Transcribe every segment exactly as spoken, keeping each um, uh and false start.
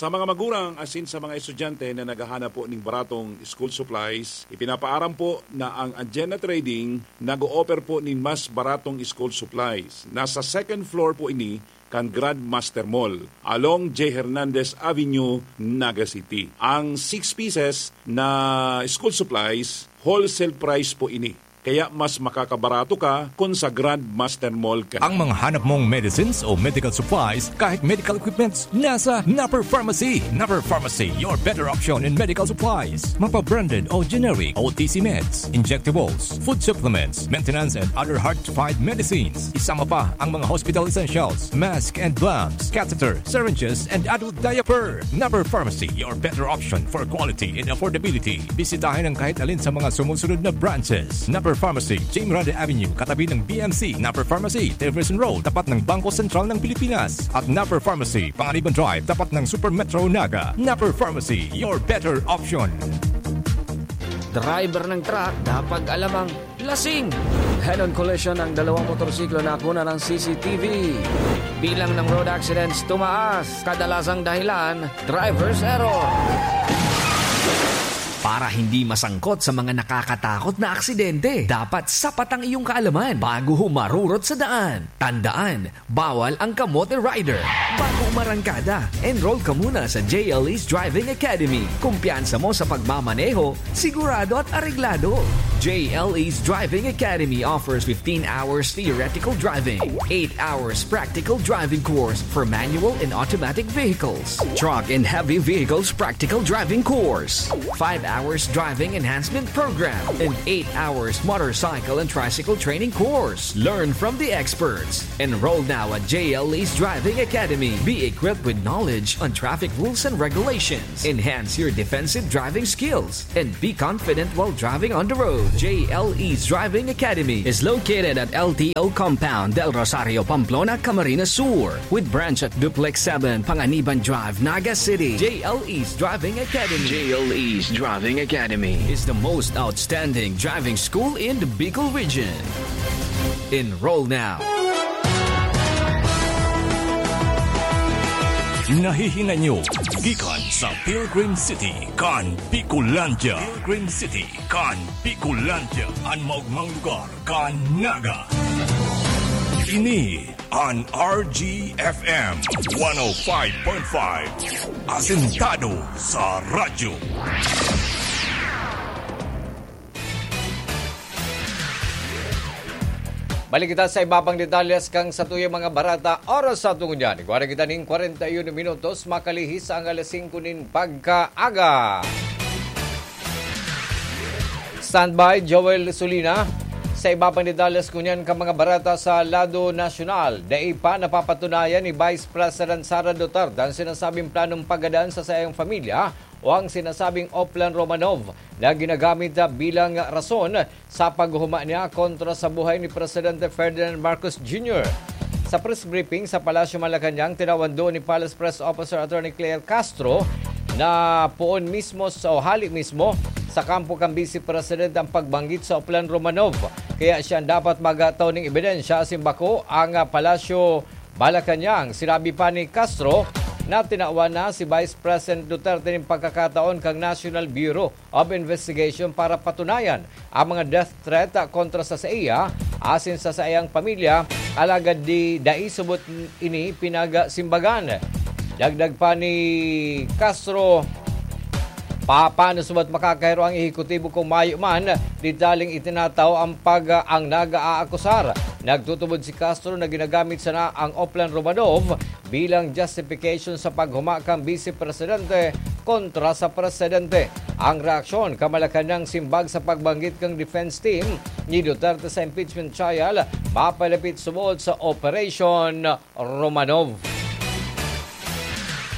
Sa mga magurang asin sa mga estudyante na naghahanap po ning baratong school supplies, ipinapaaram po na ang Agenda Trading nag-o-offer po nin mas baratong school supplies. Nasa second floor po ini kan Grandmaster Mall, along J Hernandez Avenue, Naga City. Ang six pieces na school supplies, wholesale price po ini. Kaya mas makakabarato ka kun sa Grandmaster Mall ka. Ang mga hanap mong medicines o medical supplies, kahit medical equipments, nasa Napper Pharmacy. Napper Pharmacy, your better option in medical supplies. Mapa-branded o generic, O T C meds, injectables, food supplements, maintenance and other hard-to-find medicines. Isama pa ang mga hospital essentials, mask and gloves, catheter, syringes, and adult diaper. Napper Pharmacy, your better option for quality and affordability. Bisitahin ang kahit alin sa mga sumusunod na branches. Napper Pharmacy, Jim Rade Avenue, katabi ng B M C. Napper Pharmacy, Jefferson Road, tapat ng Bangko Sentral ng Pilipinas. At Napper Pharmacy, Panganiban Drive, tapat ng Super Metro Naga. Napper Pharmacy, your better option. Driver ng truck, dapat alam ang lasing. Head-on collision ng dalawang motorsiklo na nakuna ng C C T V. Bilang ng road accidents tumaas, kadalasang dahilan, driver's error. Para hindi masangkot sa mga nakakatakot na aksidente, dapat sapat ang iyong kaalaman bago humarurot sa daan. Tandaan, bawal ang kamote rider. Bago umarangkada, enroll ka muna sa J L E's Driving Academy. Kumpiyansa mo sa pagmamaneho, sigurado at areglado. J L E's Driving Academy offers fifteen hours theoretical driving, eight hours practical driving course for manual and automatic vehicles, truck and heavy vehicles practical driving course, five hours driving enhancement program, and eight hours motorcycle and tricycle training course. Learn from the experts. Enroll now at J L E's Driving Academy. Be equipped with knowledge on traffic rules and regulations. Enhance your defensive driving skills and be confident while driving on the road. J L E's Driving Academy is located at L T O Compound, Del Rosario, Pamplona, Camarines Sur, with branch at Duplex seven, Panganiban Drive, Naga City. J L E's Driving Academy. J L E's Driving Academy is the most outstanding driving school in the Bicol region. Enroll now. Nahihinay nyo gikan sa Pilgrim City kan Bicolandia. Pilgrim City kan Bicolandia, an maogmang lugar kan Naga. Ini an R G F M one oh five point five, asentado sa radyo. Balik kita sa iba pang detalles kan satuyang mga barata. Oras sa tungo niyan, igwa na kita nin kwarenta y uno minutos, makalihis sa ang alas singko nin pagkaaga. Standby, Joel Solina. Sa iba pang detalles ngunyan kan mga barata sa lado nasyonal, dai pa napapatunayan ni Vice President Sara Duterte ang sinasabing planong paggadaan sa saiyang pamilya o ang sinasabing Oplan Romanov na ginagamit bilang rason sa paghuma niya kontra sa buhay ni Presidente Ferdinand Marcos Junior. Sa press briefing sa Palasyo Malacañang, tinawan duon ni Palace Press Officer Attorney Claire Castro na poon mismo sa, o hali mismo sa kampo kan Vice President ang pagbanggit sa Oplan Romanov. Kaya siya dapat magtao ning ebidensya, asin bako ang, ah, Palasyo Malacañang. Sinabi pa ni Castro na tinawan na si Vice President Duterte nin pagkakataon kan National Bureau of Investigation para patunayan ang mga death threat kontra sa saiya asin sa saiyang pamilya, alagad di, dai subot ini pinagsimbagan. Dagdag pa ni Castro, pa-, paano subot makakahiro ang ehekutibo kung mayo man detalyeng itinatao ang pag-, ang nag-aakusar? Nagtutubod si Castro na ginagamit sana ang Oplan Romanov bilang justification sa paghuma kan Vice Presidente kontra sa Presidente. Ang reaksyon kan Malacañang simbag sa pagbanggit kan defense team ni Duterte sa impeachment trial mapalapit subod sa Operation Romanov.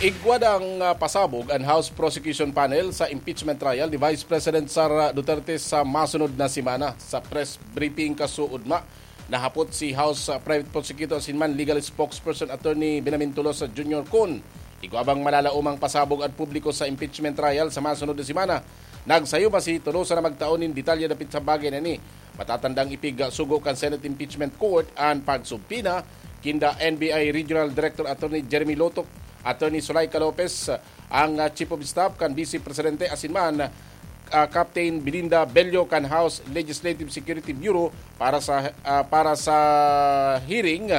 Igwa ang, ah, pasabog an House Prosecution Panel sa impeachment trial ni Vice President Sara Duterte sa masunod na semana. Sa press briefing kasuodma, nahapot si House, ah, Private Prosecutor asin man Legal Spokesperson Attorney Benjamin Tolosa Junior kun igwa bang malalaomang pasabog an publiko sa impeachment trial sa masunod na semana. Nagsayuma si Tolosa na magtao nin detalye dapit sa bagay na ini. Matatandang ipigsugo kan Senate Impeachment Court an pagsubpina kinda N B I Regional Director Attorney Jeremy Lotok Attorney Zuleika Lopez, ang, ah, Chief of Staff kan Vice Presidente, asin man, ah, Captain Belinda Bello kan House Legislative Security Bureau para sa, ah, para sa hearing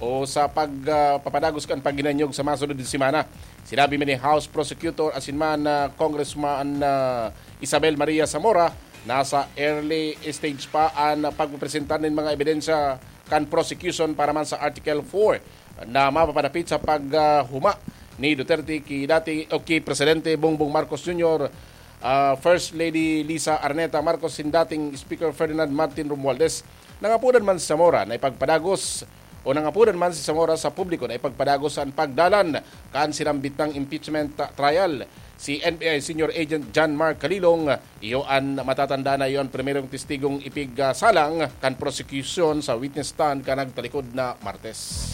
o sa pag, ah, papadagos kan paghinanyog sa masunod na semana. Sinabi man ni House Prosecutor asin man, ah, Congressman, ah, Isabel Maria Zamora, nasa early stage pa an pagpresentar nin mga ebidensya kan prosecution para man sa Article four na mapapadapit sa paghuma ni Duterte ki dati o ki Presidente Bongbong Marcos Junior, ah, First Lady Liza Araneta Marcos, sin dating Speaker Ferdinand Martin Romualdez. Nangapodan man si Zamora na ipagpadagos o nangapodan man si Zamora sa publiko na ipagpadagos an pagdalan kan sinambit nang impeachment trial. Si N B I Senior Agent John Mark Kalilong, iyo an matatanda na iyo an primerong testigong ipigsalang kan prosekusyon sa witness stand kan nagtalikod na Martes.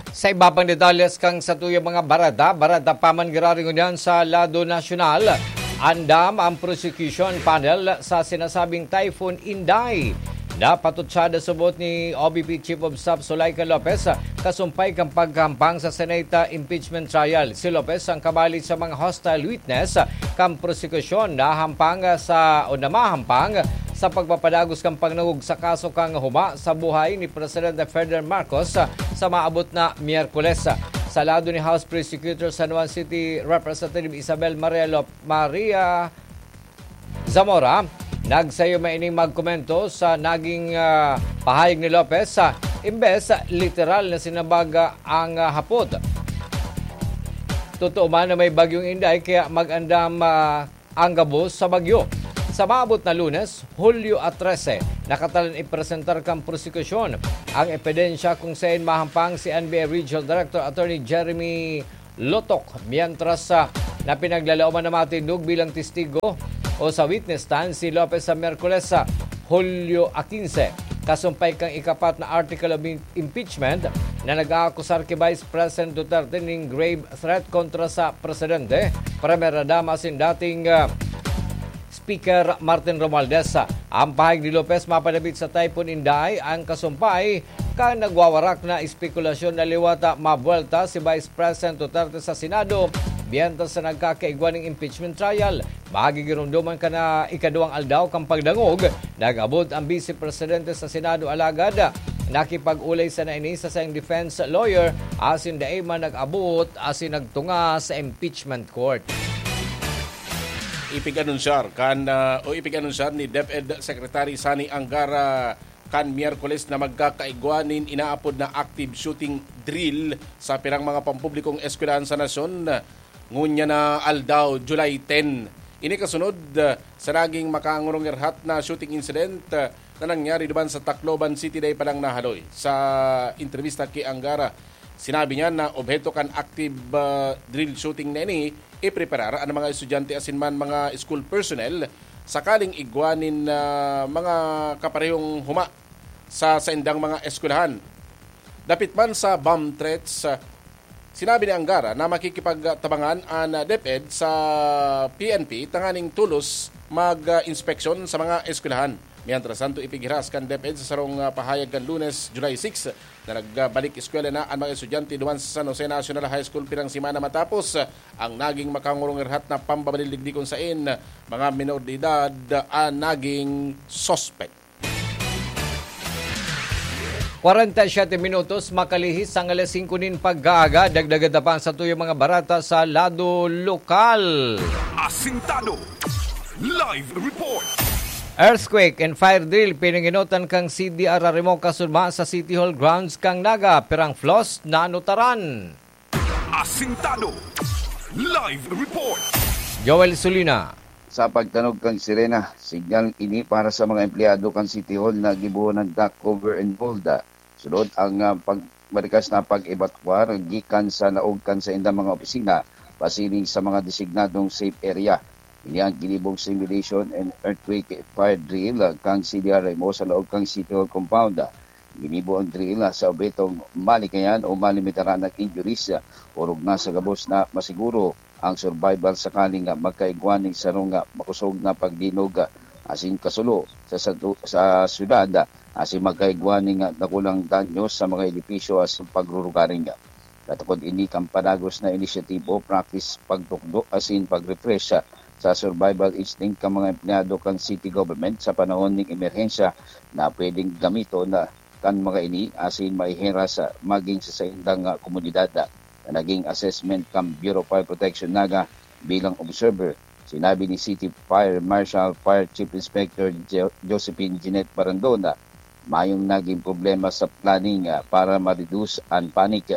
Sa iba pang detalles kan satuyang mga bareta, bareta pa man giraray ngunyan sa lado nasyonal, andam ang prosecution panel sa sinasabing Typhoon Inday. Napatutsada subot ni O B P Chief of Staff Zuleika Lopez kasumpay kan paghampang sa Senate impeachment trial. Si Lopez ang kabali sa mga hostile witness kan prosekusyon na hampang sa o na mahampang sa pagpapadagos kan pagdangog sa kaso kan huma sa buhay ni Presidente Ferdinand Marcos sa maabot na Miyerkules. Sa lado ni House Prosecutor San Juan City Representative Isabel Maria Lop-, Maria Zamora, nagsayo man ining magkomento sa naging, ah, pahayag ni Lopez. Sa imbes, literal na sinabag, ah, ang, ah, hapot. Totoo man na may Bagyong Inday, kaya mag-andam, ah, ang gabos sa bagyo. Sa maabot na Lunes, Hulyo a trese, nakatalang ipresentar kan prosekusyon ang ebidensya kung saen mahampang si N B I Regional Director Attorney Jeremy Lotok, mientras, ah, na pinaglalaoman na matindog bilang testigo o sa witness stand si Lopez sa Miyerkules, sa Hulyo a kinse, kasumpay kan ikapat na article of im-, impeachment na nag-aakusar ki Vice President Duterte nin grave threat kontra sa presidente, primera dama asin dating, ah, Speaker Martin Romualdez. Ang pahayag ni Lopez mapadapit sa Typhoon Inday, ang kasumpay kan nagwawarak na espekulasyon na liwat mabuwelta si Vice President Duterte sa Senado, mientras na nagkakaigwa nin impeachment trial. Magigiromdoman kan, ah, ikaduwang aldaw kan pagdangog, nag-abot ang Vice Presidente sa Senado, alagad nakipag-olay sana ini sa saiyang defense lawyer asin dai man nag-abot asin nagtunga sa impeachment court. Ipig-anunsyar kan, ah, o ipig-anunsyar ni DepEd Secretary Sonny Angara kan Miyerkules na magkakaigwa nin inaapod na active shooting drill sa pirang mga pampublikong eskwelahan sa nasyon, ngunyan na aldaw, July ten. Ini kasunod, ah, sa naging makangurungirhat na shooting incident, ah, na nangyari duman sa Tacloban City dai pa lang nahaloy. Sa entrebista ki Angara, sinabi niya na obheto kan active, ah, drill shooting na ini, ipreparar an mga estudyante asin man mga school personnel sakaling igwa nin, ah, mga kaparehong huma sa saindang mga eskwelahan. Dapit man sa bomb threats, ah, sinabi ni Angara na makikipagtabangan an DepEd sa P N P tanganing tolos mag-inspeksyon sa mga eskwelahan. Mientras tanto, ipighiras kan DepEd sa sarong, ah, pahayag kan Lunes, July six, na nagbalik eskwela na an mga estudyante duman sa San Jose National High School pirang semana matapos, ah, ang naging makangurungirhat na pambabalildigdi kun sain mga minor de edad, ah, an naging suspect. Kwarenta y siyete minutos makalihis ang alas singko nin pag-aaga. Dagdagan ta pa ang satuyang mga bareta sa lado lokal. Asintado. Live report. Earthquake and fire drill pinangenotan kan C D R Arimo kasunod sa City Hall grounds kan Naga, pirang floors nanutaran. Asintado. Live report. Joel Sulina. Sa pagtanog kan sirena, signal ini para sa mga empleyado kan City Hall na gibohon nin duck cover and hold. Sunod ang, ah, pag-, marikas na pag-ebakuar gikan sa laog kan saindang mga opisina pasiring sa mga designadong safe area. Ini ang ginibong simulation and earthquake fire drill, ah, kan C D R Arimo sa laog kan City Hall compound. Ginibo ang drill, ah, sa obhetong malikayan o malimitaran ang injuries, ah, orog na sa gabos na masiguro ang survival sakaling, ah, magkaigwa nin sarong, ah, makosog na pagdinog, ah, asin kasulo sa, sa, sa syudad, asin magkaigwa ning dakulang danyo sa mga edipisyo asin pagrurugaring. Katukod ini kan padagos na inisyatibo, practice pagtukdo asin pag-refresh sa survival instinct kan mga empleyado kan city government sa panahon ning emerhensya na pwedeng gamiton na kan mga ini asin maihiras sa maging sa saindang, ah, komunidad, ah, na naging assessment kan Bureau of Fire Protection Naga bilang observer. Sinabi ni City Fire Marshal Fire Chief Inspector Jo-, Josephine Jeanette Barandon na mayong naging problema sa planning, ah, para ma-reduce an panic.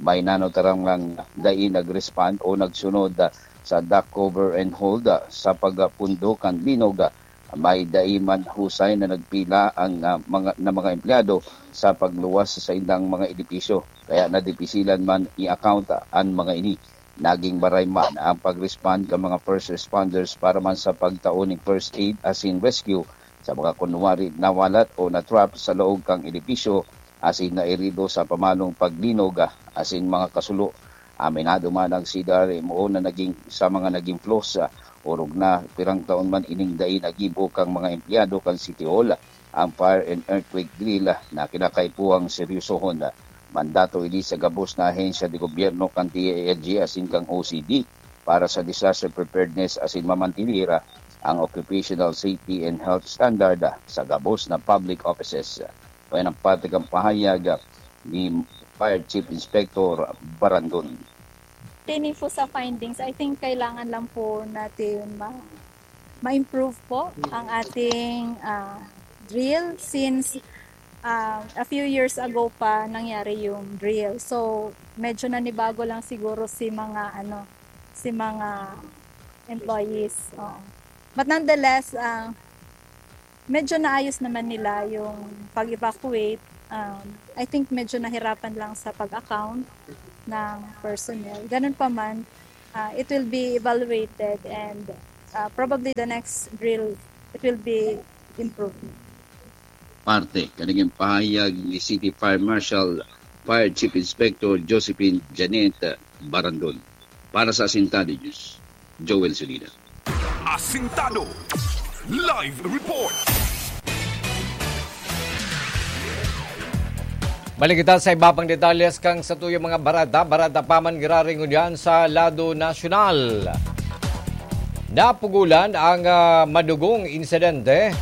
May nanotarang lang dai nag-respond o nagsunod, ah, sa duck cover and hold, ah, sa pagpundo kan linog, ah, may dai man husay na nagpila ang, ah, mga, na mga empleyado sa pagluwas sa saindang mga edipisyo, kaya nadipisilan man i-account an mga ini. Naging maray man ang pag-respond kan mga first responders para man sa pagtao ning first aid asin rescue sa mga kunwari nawalat o na-trap sa laog kan edipisyo asin nairido sa pamalong paglinog, ah, asin mga kasulo. Aminado man ang C D R M O na naging, sa mga naging flaws, ah, orog na pirang taon man ining dai nagibo kan mga empleyado kan City Hall ang fire and earthquake drill, ah, na kinakaipuhang seryosohon. Mandato ini sa gabos na ahensya de gobyerno kan D I L G asin kan O C D para sa disaster preparedness asin mamantener ang occupational safety and health standard sa gabos na public offices. Kaya ang parte kan pahayag ni Fire Chief Inspector Barandon. Pertaining po sa findings, I think kailangan lang po natin ma- ma-improve po ang ating, ah, drill since, ah, a few years ago pa nangyari yung drill. So, medyo nanibago lang siguro si mga, ano, si mga employees. Oo. But nonetheless, ah, medyo naayos naman nila yung pag-evacuate. Um, I think medyo nahirapan lang sa pag-account ng personnel. Ganun pa man, ah, it will be evaluated and, ah, probably the next drill, it will be improved. Parte kan nagin pahayag ni City Fire Marshal Fire Chief Inspector Josephine Janet Barandon. Para sa Asintado News, Joel Solida. Asintado Live Report. Balik kita sa iba pang detalles kan satuyang mga barada. Barada pa man giraray ngunyan sa lado nasyonal. Napugulan ang, ah, madugong insidente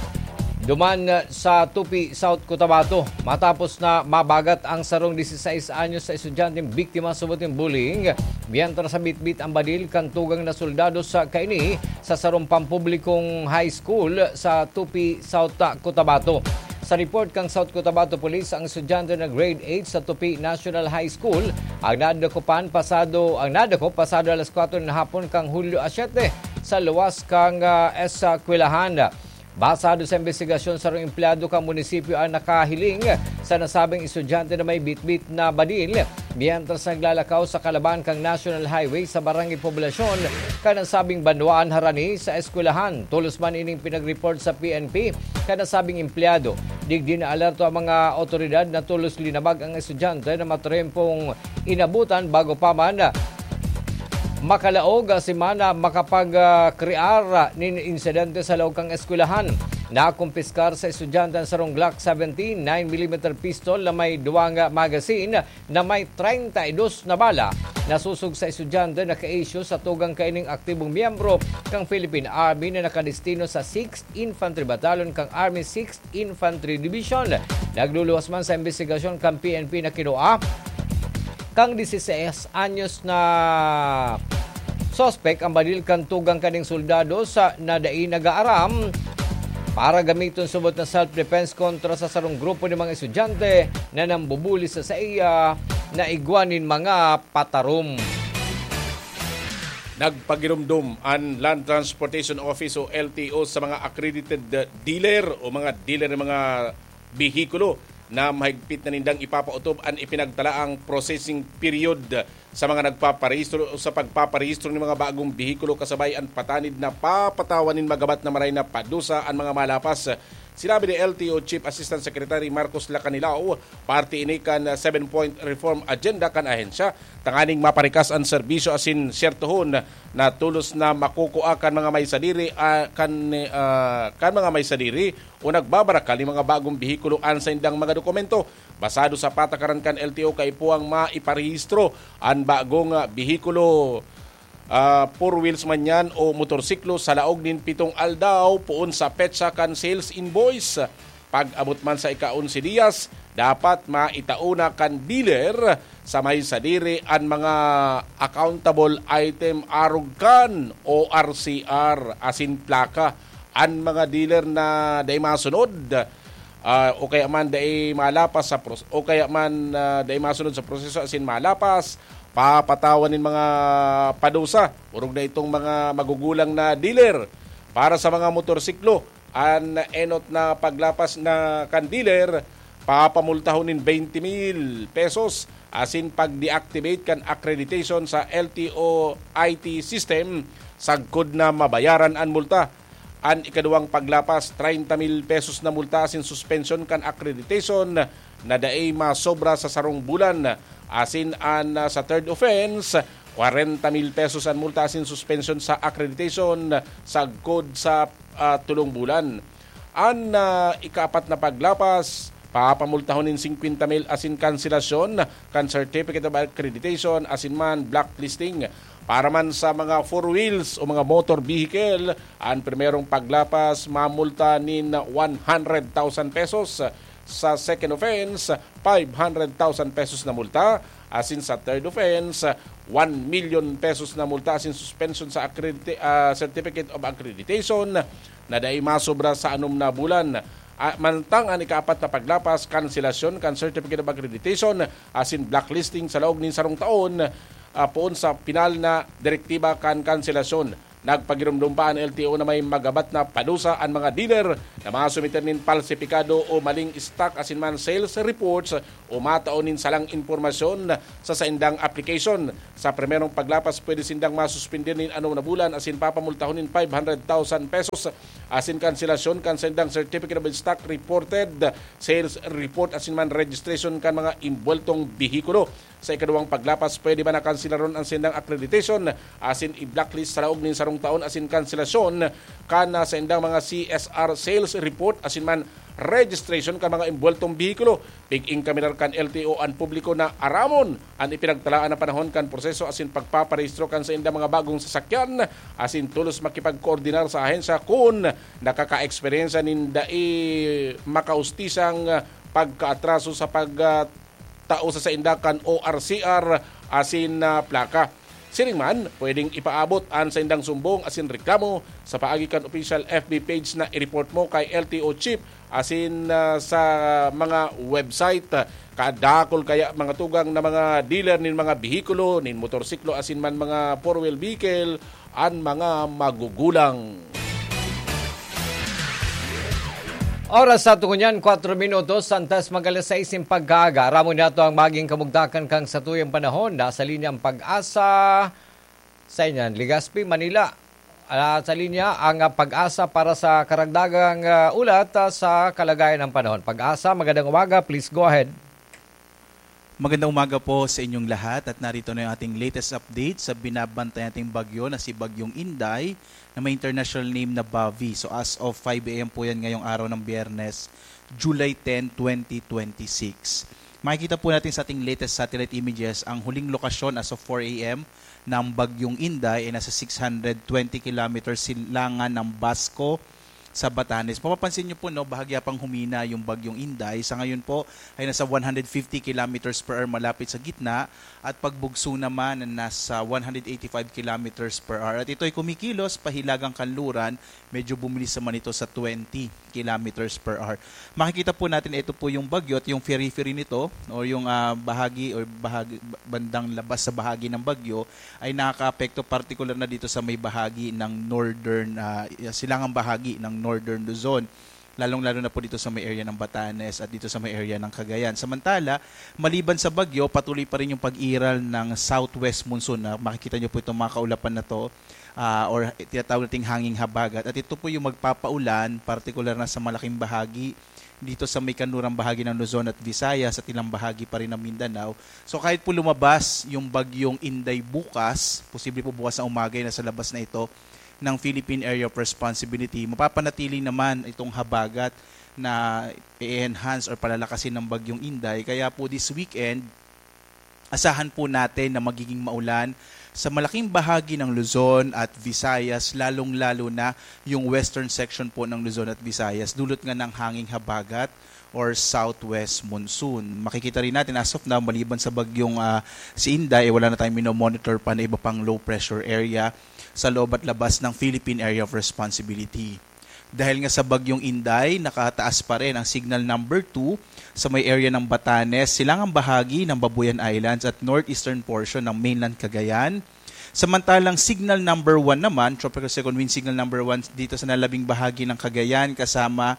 duman sa Tupi, South Cotabato, matapos na mabagat ang sarong dieciséis anyos sa estudyanteng biktima subot nin bullying, mientras sa bitbit ang badil kan tugang na soldado sa kaini sa sarong pampublikong high school sa Tupi, South Cotabato. Sa report kan South Cotabato Police, ang estudyante na grade eight sa Tupi National High School ang nadakopan pasado ang nadakop pasado alas kwatro na hapon kan Hulyo a siyete sa luwas kan, ah, eskwelahan. Basado sa imbestigasyon, sarong empleyado kan munisipyo ang nakahiling sa nasabing estudyante na may bitbit na badil mientras naglalakaw sa kalaban kan National Highway sa Barangay Poblacion kan nasabing banwaan harani sa eskwelahan. Tolos man ining pinag-report sa P N P kan nasabing empleyado. Digdi naalerto ang mga otoridad na tolos linabag ang estudyante na matrempong inabutan bago pa man makalaog si Mana makapag-, ah, krear nin insidente sa laog kan eskwelahan. Nakumpiskar sa estudyante ang sarong Glock seventeen, nine millimeter pistol na may duwang magazine na may treinta y dos na bala. Nasusog sa estudyante na ka-issue sa tugang kaining aktibong miyembro kang Philippine Army na nakadestino sa sixth Infantry Battalion kang Army sixth Infantry Division. Nagluluwas man sa imbestigasyon kan P N P na kinua kang dieciséis anyos na suspek ang badil kan tugang kaning soldado sa na dai nag-aaram para gamiton subot na self-defense kontra sa sarong grupo nin mga estudyante na nambubuli sa saiya na igwa nin mga patarom. Nagpagiromdom an Land Transportation Office o L T O sa mga accredited dealer o mga dealer ng mga behikulo na mahigpit na nindang ipapaotob an ipinagtalaang processing period sa mga nagpaparehistro o sa pagpaparehistro ng mga bagong behikulo kasabay an patanid na papatawan nin magabat na maray na padusa an mga malapas Sinabi ni L T O Chief Assistant Secretary Marcos Lacanilao, parte ini kan seven-point reform agenda kan ahensya, tanganing maparikas an serbisyo asin siyertohon na tolos na makukua kan mga may sadiri, ah, kan, ah, kan mga may sadiri o nagbabarakal nin mga bagong behikulo an saindang mga dokumento. Basado sa patakaran kan L T O, kaipuhang maiparehistro an bagong, ah, behikulo, ah, four wheels man yan o motorsiklo sa laog nin pitong aldaw poon sa petsa kan sales invoice. Pag-abot man sa ika-onse diyas, dapat maitao na kan dealer sa may sadiri an mga accountable item arog kan O R C R asin plaka. An mga dealer na dai masunod, ah, o kaya man dai malapas sa pros-, o kaya man, ah, dai masunod sa proseso asin malapas, papatawan nin mga padusa. Orog na itong mga magugulang na dealer. Para sa mga motorsiklo, an enot na paglapas na kan dealer, papamultahon nin twenty mil pesos asin pag-deactivate kan accreditation sa L T O I T system sagkod na mabayaran an multa. An ikaduwang paglapas, treinta mil pesos na multa asin suspensyon kan accreditation na dai masobra sa sarong bulan, asin an, ah, sa third offense, kwarenta mil pesos an multa asin suspensyon sa accreditation sagkod sa, ah, tolong bulan. An, ah, ikaapat na paglapas, papamultahon nin singkwenta mil asin kanselasyon kan Certificate of Accreditation asin man blacklisting. Para man sa mga four wheels o mga motor vehicle, an primerong paglapas mamulta nin one hundred thousand pesos. Sa second offense, five hundred thousand pesos na multa. Asin sa third offense, one million pesos na multa asin suspension sa accredita-, ah, Certificate of Accreditation na dai masobra sa anom na bulan. Ah, mantang an ikaapat na paglapas, kanselasyon kan Certificate of Accreditation asin blacklisting sa laog nin sarong taon, ah, poon sa pinal na direktiba kan kanselasyon. Nagpagiromdom pa an L T O na may magabat na padusa an mga dealer na masumiter nin palsipikado o maling stock asin man sales reports o matao nin salang impormasyon sa saindang application. Sa primerong paglapas, pwede sindang masuspender nin anom na bulan asin papamultahon nin five hundred thousand pesos asin kanselasyon kan saindang Certificate of Stock Reported, Sales Report asin man registration kan mga imbuweltong behikulo. Sa ikaduwang paglapas, pwede man na kanselaron an saindang accreditation asin i-blacklist sa laog nin sarong taon asin kanselasyon kan, ah, saindang mga C S R sales report asin man registration kan mga imbuweltong behikulo. Pig-inkaminar kan L T O an publiko na aramon an ipinagtalaan na panahon kan proseso asin pagpaparehistro kan saindang mga bagong sasakyan asin tolos makipagkoordinar sa ahensya kun nakakaeksperyensya nin dai makaustisang pagkaatraso sa pag, ah, tao sa sainda kan O R C R asin, ah, plaka. Siring man, pwedeng ipaabot an saindang sumbong asin reklamo sa paagi kan official F B page na i-report mo kay L T O Chief asin, ah, sa mga website. Kadakul kaya mga tugang na mga dealer nin mga behikulo, nin motorsiklo asin man mga four-wheel vehicle, an mga magugulang. Oras sa tungo niyan, kwatro minutos, antes mag-alas sais nin pagkaaga. Aramon niyato ang maging kamugtakan kan satuyang panahon. Nasa linya ang Pag-asa, sa inyan, Legazpi, Manila. Ah, sa linya ang, ah, Pag-asa para sa karagdagang, ah, ulat, ah, sa kalagayan ng panahon. Pag-asa, magandang umaga. Please go ahead. Magandang umaga po sa inyong lahat at narito na yung ating latest update sa binabantayan nating bagyo na si Bagyong Inday na may international name na Bavi. So as of five a m po yan ngayong araw ng Biyernes, July ten, twenty twenty-six. Makikita po natin sa ating latest satellite images ang huling lokasyon as of four a m ng Bagyong Inday ay nasa six hundred twenty kilometers silangan ng Basco sa Batanes. Mapapansin nyo po, no, bahagya pang humina yung Bagyong Inday. Sa ngayon po ay nasa one hundred fifty kilometers per hour malapit sa gitna at pagbugso naman na nasa one hundred eighty-five kilometers per hour. At ito ay kumikilos pahilagang kanluran, medyo bumilis naman ito sa twenty kilometers per hour. Makikita po natin, ito po yung bagyo at yung periphery nito o yung, ah, bahagi o bahagi, bandang labas sa bahagi ng bagyo ay nakakaapekto partikular na dito sa may bahagi ng northern, ah, silangang bahagi ng northern Luzon. lalong-lalo na po dito sa may area ng Batanes at dito sa may area ng Cagayan. Samantala, maliban sa bagyo, patuloy pa rin yung pag-iral ng southwest monsoon na makikita nyo po itong mga kaulapan na to, ah, or tinatawag nating hanging habagat. At ito po yung magpapaulan, partikular na sa malaking bahagi dito sa may kanlurang bahagi ng Luzon at Visayas at ilang bahagi pa rin ng Mindanao. So kahit po lumabas yung bagyong Inday bukas, posible po bukas na umaga na sa labas na ito ng Philippine Area of Responsibility, mapapanatili naman itong habagat na i-enhance or palalakasin ng bagyong Inday. Kaya po this weekend, asahan po natin na magiging maulan sa malaking bahagi ng Luzon at Visayas, lalong-lalo na yung western section po ng Luzon at Visayas, dulot nga ng hanging habagat or southwest monsoon. Makikita rin natin as of now, maliban sa bagyong, ah, si Inday, eh, wala na tayong minomonitor pa na iba pang low pressure area sa loob at labas ng Philippine Area of Responsibility. Dahil nga sa bagyong Inday, nakataas pa rin ang signal number two sa may area ng Batanes, silangang bahagi ng Babuyan Islands at northeastern portion ng mainland Cagayan. Samantalang signal number one naman, tropical second wind signal number one dito sa nalabing bahagi ng Cagayan, kasama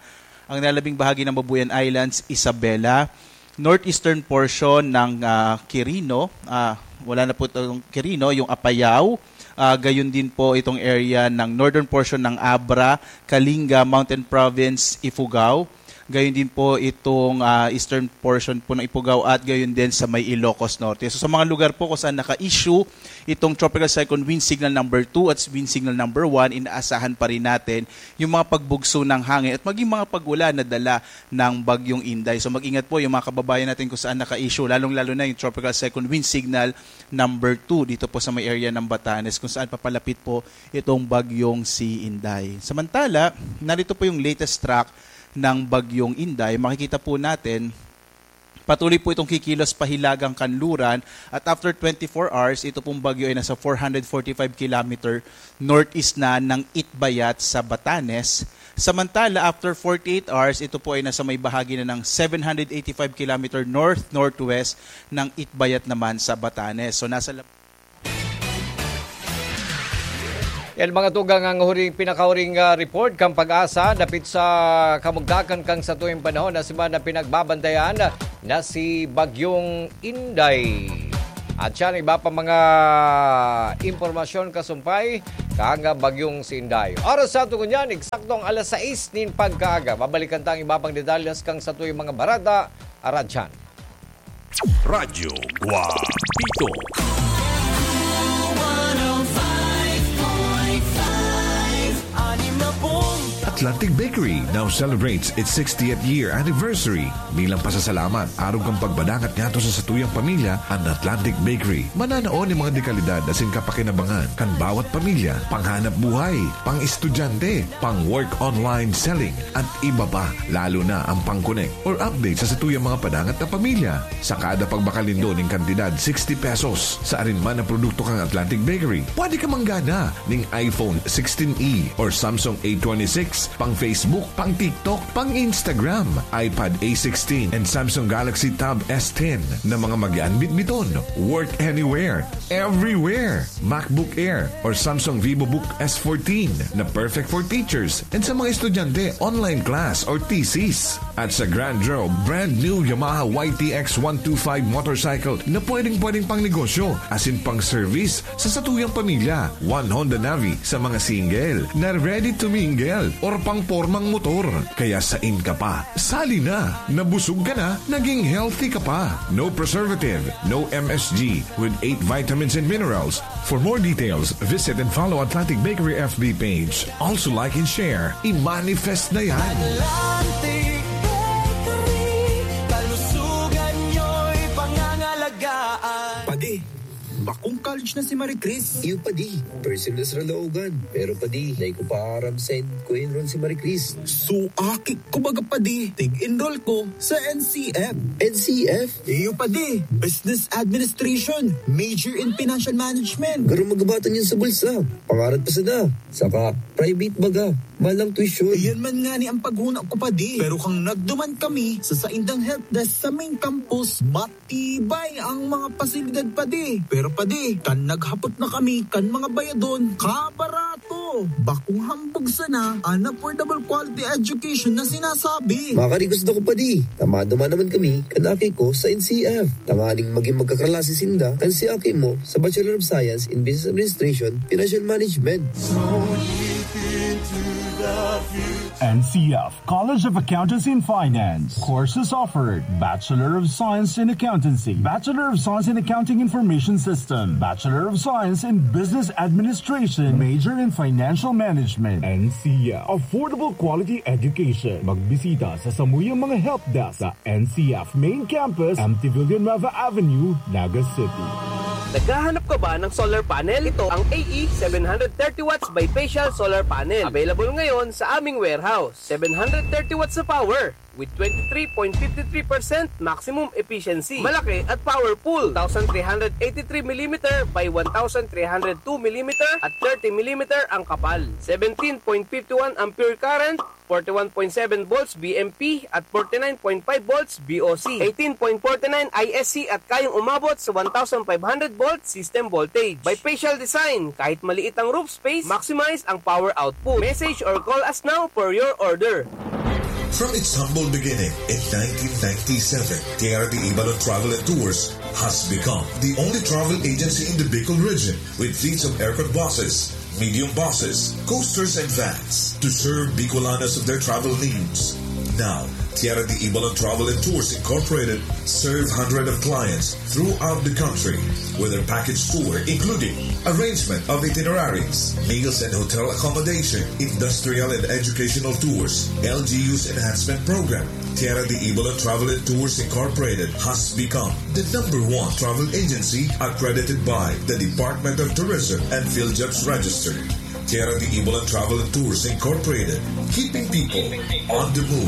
ang nalabing bahagi ng Babuyan Islands, Isabela, northeastern portion ng, ah, Quirino, ah, wala na po itong Quirino, yung Apayao, ah, gayon din po itong area ng northern portion ng Abra, Kalinga, Mountain Province, Ifugao, gayon din po itong, ah, eastern portion po ng Ifugao at gayon din sa may Ilocos Norte. So sa mga lugar po kung saan naka-issue itong Tropical Cyclone Wind Signal number two at Wind Signal number one, inaasahan pa rin natin yung mga pagbugso ng hangin at maging mga pag-ulan na dala ng Bagyong Inday. So mag-ingat po yung mga kababayan natin kung saan naka-issue, lalong-lalo na yung Tropical Cyclone Wind Signal number two dito po sa may area ng Batanes kung saan papalapit po itong bagyong si Inday. Samantala, narito po yung latest track ng bagyong Inday. Makikita po natin, patuloy po itong kikilos pahilagang kanluran at after twenty-four hours, ito pong bagyo ay nasa four hundred forty-five kilometer northeast na ng Itbayat sa Batanes. Samantala, after forty-eight hours, ito po ay nasa may bahagi na ng seven hundred eighty-five kilometer north-northwest ng Itbayat naman sa Batanes. So, nasa lap- Yan mga tugang ang huring, pinakahuring, ah, report kan PAGASA dapit sa kamugtakan kan satuyang panahon na semana pinagbabantayan na si Bagyong Inday. At siya ang iba pa mga impormasyon kasumpay kan Bagyong si Inday. Oras sa aton ngunyan, eksaktong alas sais nin pagkaaga. Babalikan ta ang iba pang detalles kan satuyang mga bareta, aradyan. Radyo Guapito. Atlantic Bakery now celebrates its sixtieth year anniversary. Bilang pasasalamat, arog kan pagpadangat ngadto sa satuyang pamilya, an Atlantic Bakery mananao nin mga dekalidad asin kapakinabangan kan bawat pamilya, panghanap buhay, pang-estudyante, pang-work online selling, at iba pa, lalo na ang pang-connect or update sa satuyang mga padangat na pamilya. Sa kada pagbakal nindo nin kantidad sixty pesos sa arin man na produkto kan Atlantic Bakery, pwede ka manggana nin iPhone sixteen E or Samsung A twenty-six, pang Facebook, pang TikTok, pang Instagram, iPad A sixteen and Samsung Galaxy Tab S ten na mga magaan bitbiton, work anywhere, everywhere. MacBook Air or Samsung VivoBook S fourteen na perfect for teachers and sa mga estudyante, online class or thesis. At sa Grand Draw, brand new Yamaha Y T X one two five motorcycle na pwedeng-pwedeng pang negosyo, asin pang service sa satuyang pamilya. One Honda Navi sa mga single na ready to mingle or pang pormang motor. Kaya sain ka pa? Sali na! Nabusog ka na, naging healthy ka pa. No preservative, no M S G, with eight vitamins and minerals. For more details, visit and follow Atlantic Bakery F B page. Also like and share. I-manifest na yan. Atlantic Bakery, kalusugan nyo'y pangangalagaan. Padi, bakong college na si Marie Chris. Iyo, padi. First sem na sa Laogan. Pero, padi, dai ko pa aram saen ko enroll si Marie Chris. Suaki ko baga, padi. Tig-enroll ko sa N C F. N C F? Iyo, padi. Business Administration. Major in Financial Management. Garo magabatan yun sa bulsa. Pangarap pa sana. Saka, private baga. Mahal ang tuition. Iyan man ngani ang paghuna ko, padi. Pero kan nagduman kami sa saindang helpdesk sa main campus, matibay ang mga pasilidad, padi. Pero, padi, kan naghapot na kami kan mga bayadon, kabarato. Oh, bakong hambog sana an affordable quality education na sinasabi. Makari gusto ko pa di. Tamado man naman kami kan aki ko sa N C F. Tanganing maging magkaklase sinda kan si aki mo sa Bachelor of Science in Business Administration, Financial Management. N C F College of Accountancy and Finance. Courses offered: Bachelor of Science in Accountancy, Bachelor of Science in Accounting Information System, Bachelor of Science in Business Administration, major in Financial Management. N C F, affordable quality education. Magbisita sa samuyang mga help desk sa N C F Main Campus, M T Villanueva Avenue, Naga City. Naghahanap ka ba ng solar panel? Ito ang A E seven hundred thirty watts bifacial solar panel. Available ngayon sa aming warehouse. Seven hundred thirty watts na power with twenty-three point five three percent maximum efficiency. Malaki at powerful. Two thousand three hundred eighty-three millimeter by one thousand three hundred two millimeter at thirty millimeter ang kapal. Seventeen point five one ampere current, forty-one point seven volts V M P at forty-nine point five volts V O C, eighteen point forty-nine I S C at kayang umabot sa one thousand five hundred volt system voltage. Bifacial design, kahit maliit ang roof space, maximize ang power output. Message or call us now for your order. From its humble beginning in nineteen ninety-seven, Tierra de Ibalon Travel and Tours has become the only travel agency in the Bicol region with fleets of aircon buses, medium buses, coasters, and vans to serve Bicolanos of their travel needs. Now, Tierra de Ibalon Travel and Tours Incorporated serve hundreds of clients throughout the country with their package tour, including arrangement of itineraries, meals and hotel accommodation, industrial and educational tours, L G U's enhancement program. Tierra de Ibalon Travel and Tours Incorporated has become the number one travel agency accredited by the Department of Tourism and PhilJobs Register. Tierra de Ibalon Travel and Tours Incorporated, keeping people on the move.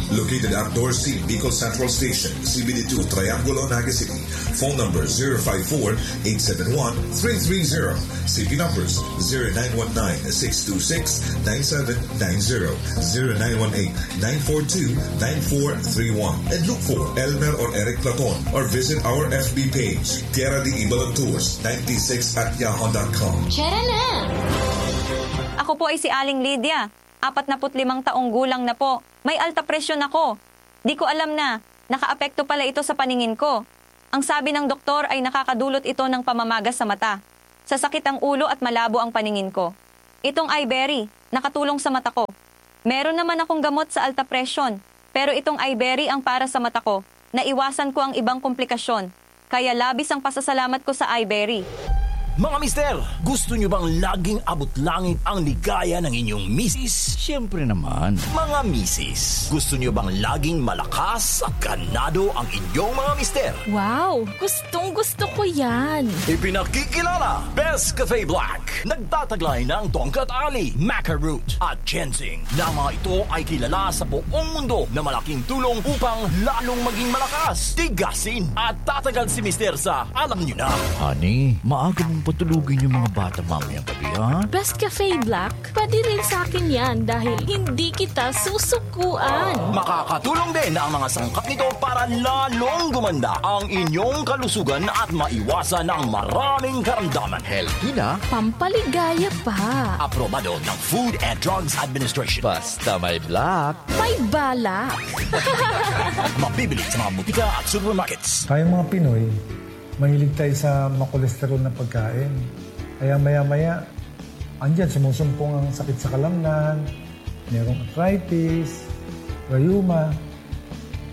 Located at Dorothy Bicol Central Station, C B D two, Triangulo, Naga City. Phone number zero five four, eight seven one, three three zero. C P numbers zero nine one nine, six two six, nine seven nine zero, zero nine one eight, nine four two, nine four three one. And look for Elmer or Eric Platon or visit our F B page, Tierra de Ibalon Tours ninety-six at yahoo dot com. Tara na! Ako po ay si Aling Lydia. Apatnaput limang taong gulang na po. May alta presyon ako. Di ko alam na nakaapekto pala ito sa paningin ko. Ang sabi ng doktor ay nakakadulot ito ng pamamaga sa mata. Sasakit ang ulo at malabo ang paningin ko. Itong Iberry, nakatulong sa mata ko. Meron naman akong gamot sa alta presyon, pero itong Iberry ang para sa mata ko. Naiwasan ko ang ibang komplikasyon, kaya labis ang pasasalamat ko sa Iberry. Mga mister, gusto nyo bang laging abot langit ang ligaya ng inyong misis? Siyempre naman. Mga misis, gusto nyo bang laging malakas at ganado ang inyong mga mister? Wow! Gustong gusto ko yan! Ipinakikilala, Best Cafe Black. Nagtataglay ng tongkat ali, maca root, at ginseng, na mga ito ay kilala sa buong mundo na malaking tulong upang lalong maging malakas, tigasin, at tatagal si mister sa alam nyo na. Honey, maaga mong patulugin yung mga bata mamayang gabi, ha? Best Cafe Black, pati rin sa akin yan dahil hindi kita susukuan. Makakatulong din ang mga sangkap nito para lalong gumanda ang inyong kalusugan at maiwasan ang maraming karamdaman. Healthy na. Pampaligaya pa. Aprobado ng Food and Drugs Administration. Basta may black. May balak. Mabibili sa mga butika at supermarkets. Tayong mga Pinoy, mahilig tayo sa makolesterol na pagkain. Kaya maya-maya, andyan, sumusumpong ang sakit sa kalamnan, merong arthritis, rayuma.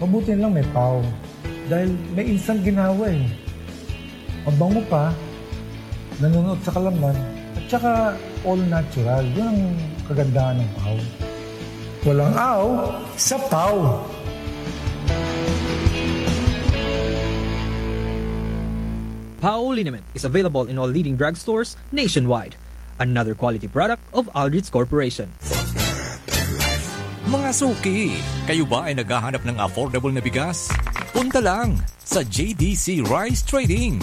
Mabuti na lang may pau. Dahil may instant ginawa eh. Mabango pa, nanunuot sa kalamnan, at saka all natural. Yun ang kagandahan ng pau. Walang aw sa pau. Pau liniment is available in all leading drugstores nationwide. Another quality product of Aldrich Corporation. Mga suki, kayo ba ay naghahanap ng affordable na bigas? Punta lang sa J D C Rice Trading.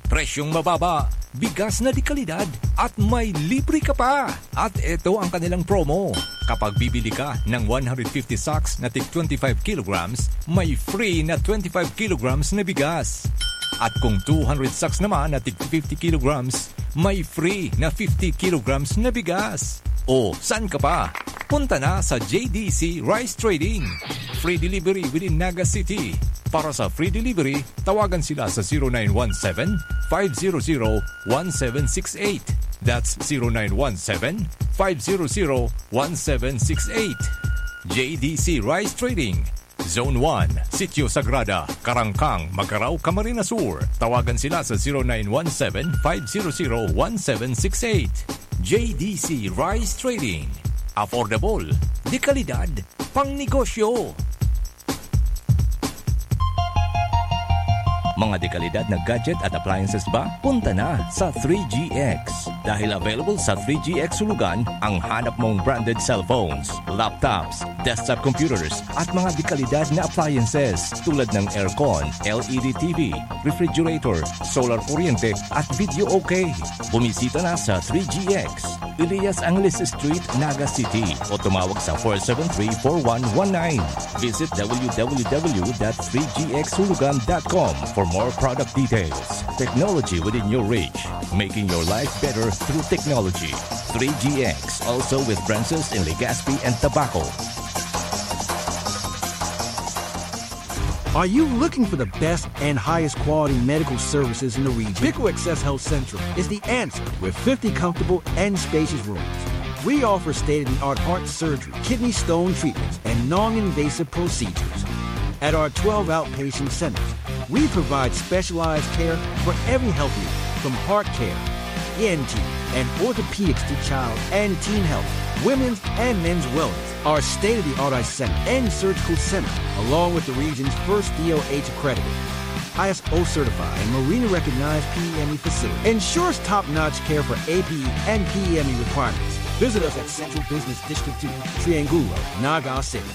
Presyong mababa, bigas na de kalidad, at may libre ka pa! At eto ang kanilang promo. Kapag bibili ka ng one hundred fifty sacks na tig twenty-five kilograms, may free na twenty-five kilograms na bigas. At kung two hundred sacks naman na tig fifty kilograms, may free na fifty kilograms na bigas. O, saan ka pa? Punta na sa J D C Rice Trading. Free delivery within Naga City. Para sa free delivery, tawagan sila sa zero nine one seven, five zero zero, one seven six eight. That's zero nine one seven, five zero zero, one seven six eight. J D C Rice Trading, Zone one, Sitio Sagrada, Karangkang, Magarao, Camarines Sur. Tawagan sila sa zero nine one seven, five zero zero, one seven six eight. J D C Rice Trading. Affordable, de kalidad, pang negosyo. Mga dekalidad na gadget at appliances ba? Punta na sa three G X. Dahil available sa three G X Hulugan ang hanap mong branded cellphones, laptops, desktop computers, at mga dekalidad na appliances tulad ng aircon, L E D T V, refrigerator, solar kuryente, at video okay. Bumisita na sa three G X, Elias Angeles Street, Naga City, o tumawag sa four seven three, four one one nine. Visit w w w dot three g x hulugan dot com for more product details. Technology within your reach, making your life better through technology. Three G X, also with branches in Legazpi and Tabaco. Are you looking for the best and highest quality medical services in the region? Pico Access Health Central is the answer with fifty comfortable and spacious rooms. We offer state-of-the-art heart surgery, kidney stone treatments, and non-invasive procedures. At our twelve outpatient centers, we provide specialized care for every health need, from heart care, E N T, and orthopedics to child and teen health, women's and men's wellness. Our state-of-the-art eye center and surgical center, along with the region's first D O H accredited, I S O certified, and Marina recognized P E M E facility, ensures top-notch care for A P E and P E M E requirements. Visit us at Central Business District two, Triangulo, Naga City.